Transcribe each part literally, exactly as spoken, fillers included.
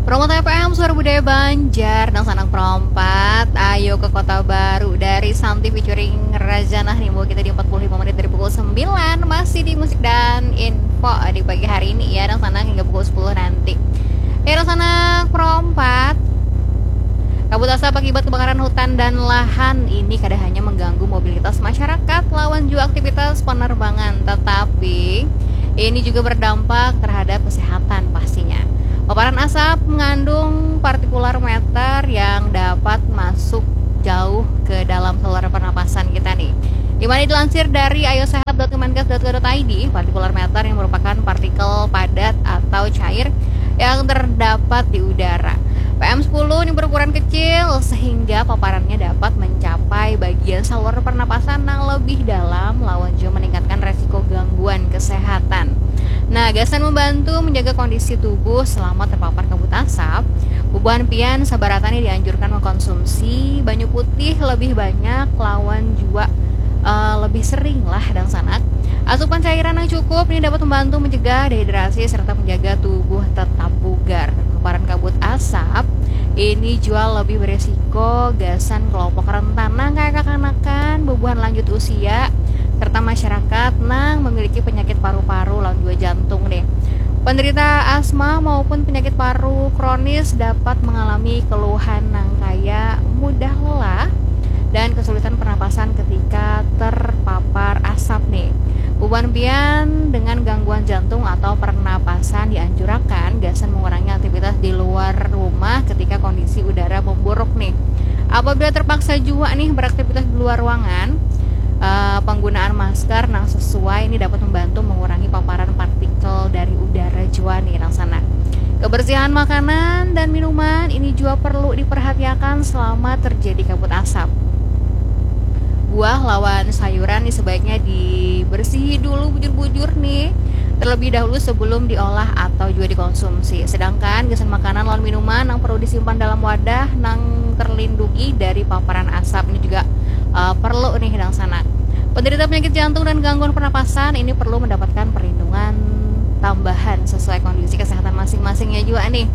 Promote F M, Suara Budaya Banjar, dangsanak perompat. Ayo ke Kota Baru dari Santi featuring Razanah nih, bawa kita di empat puluh lima menit dari pukul sembilan, masih di musik dan info di pagi hari ini ya, dangsanak, hingga pukul sepuluh nanti. Ya, dangsanak perompat. Kabut asap akibat kebakaran hutan dan lahan ini kada hanya mengganggu mobilitas masyarakat lawan juga aktivitas penerbangan, tetapi ini juga berdampak terhadap kesehatan pastinya. Paparan asap mengandung partikular matter yang dapat masuk jauh ke dalam saluran pernapasan kita nih. Di mana dilansir dari ayosehat dot kemenkes dot go dot I D, partikular matter yang merupakan partikel padat atau cair yang terdapat di udara. P M sepuluh ini berukuran kecil sehingga paparannya dapat mencapai bagian saluran pernapasan yang lebih dalam lawan juga meningkatkan resiko gangguan kesehatan. Nah, gasan membantu menjaga kondisi tubuh selama terpapar kabut asap, bubuhan pian sabaratan ini dianjurkan mengkonsumsi banyu putih lebih banyak lawan juga eh, lebih sering lah, dangsanak. Asupan cairan yang cukup ini dapat membantu mencegah dehidrasi serta menjaga tubuh tetap bugar. Paparan kabut asap ini jua lebih beresiko gasan kelompok rentan nang kaya kakanakan, bubuhan lanjut usia, serta masyarakat nang memiliki penyakit paru-paru lawan juga jantung nih. Penderita asma maupun penyakit paru kronis dapat mengalami keluhan nang kaya mudah lelah dan kesulitan pernapasan ketika terpapar asap nih. Bubuhan pian dengan gangguan jantung atau pernapasan dianjurakan gasan mengurangi aktivitas di luar rumah ketika kondisi udara memburuk nih. Apabila terpaksa jua nih beraktivitas di luar ruangan, eh, penggunaan masker nang sesuai ini dapat membantu mengurangi paparan partikel dari udara jua nih, dangsanak. Kebersihan makanan dan minuman ini jua perlu diperhatiakan selama terjadi kabut asap. Buah lawan sayuran nih sebaiknya dibersihi dulu bujur-bujur nih, terlebih dahulu sebelum diolah atau juga dikonsumsi. Sedangkan gasan makanan lawan minuman nang perlu disimpan dalam wadah nang terlindungi dari paparan asap ini juga eh, perlu nih, dangsanak. Penderita penyakit jantung dan gangguan pernapasan ini perlu mendapatkan perlindungan tambahan sesuai kondisi kesehatan masing-masingnya juga nih.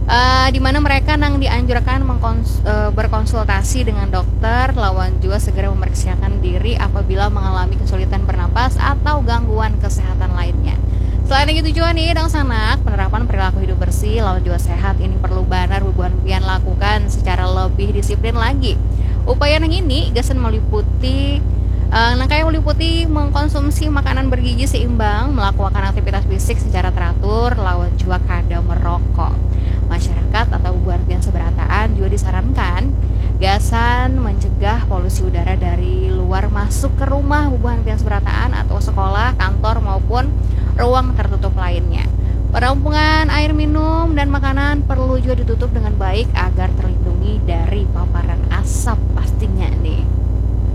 Eh, di mana mereka nang dianjurkan mengkons- eh, berkonsultasi dengan dokter lawan juga segera memeriksakan diri apabila mengalami kesulitan bernapas atau gangguan kesehatan lainnya. Selain itu juga nih, dangsanak, penerapan perilaku hidup bersih lawan juga sehat ini perlu banar bubuhan pian lakukan secara lebih disiplin lagi. Upaya nang ini gasan meliputi eh, nang kaya meliputi mengkonsumsi makanan bergizi seimbang, melakukan aktivitas fisik secara teratur, lawan juga kada merokok. Masyarakat atau bubuhan pian seberataan juga disarankan gasan mencegah polusi udara dari luar masuk ke rumah bubuhan pian seberataan atau sekolah, kantor, maupun ruang tertutup lainnya. Penampungan air minum dan makanan perlu juga ditutup dengan baik agar terlindungi dari paparan asap pastinya nih.